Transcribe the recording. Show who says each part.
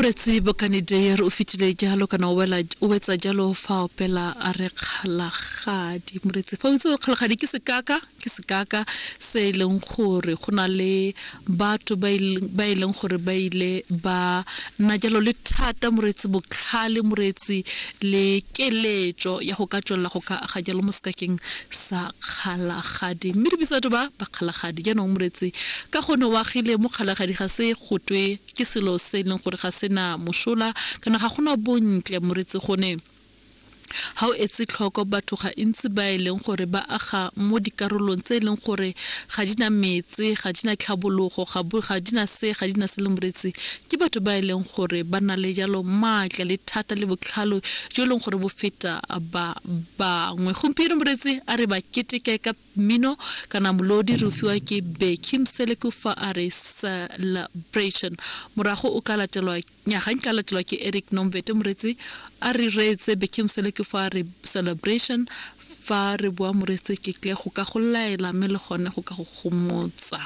Speaker 1: Moretsi Bokane Deyer o fetile jalo kana o wela o wetsa jalo fa opela a re kgalagadi. Moretsi fa o itse gore kgalagadi ke sekaka, ke sekaka se e leng gore go na le batho ba e leng gore ba ile ba nna jalo le thata moretsi botlhale moretsi le keletso ya go ka tswelela go ka aga jalo mo sekakeng sa kgalagadi mme re bitsa batho ba ba kgalagadi jaanong moretsi ka gone o agile mo kgalagadi ga se gotwe ke selo se e leng gore ga se na mosola kana ga gona bontle moretsi gone Ga o etse tlhoko batho ga ntsi ba e leng gore ba aga mo dikarolong tse e leng gore ga di na metse, ga di na tlhabologo, ga bo ga di na se, ga di na se le moretsi. Ke batho ba e leng gore ba na le jalo maatla le thata le botlhalo jo e leng gore bo feta ba bangwe. Gompieno moretsi a re ba keteke ka mmino kana molodi re o fiwa ke Becky Mseleku fa a re Celebration. Morago o ka latelwa Nya ga nka latelwa ke Eric Nomvete moretsi a re reetse Becky Mseleku fa a re Celebration fa re boa moretsi ke tle go ka go laela mme le gone go ka go gomotsa.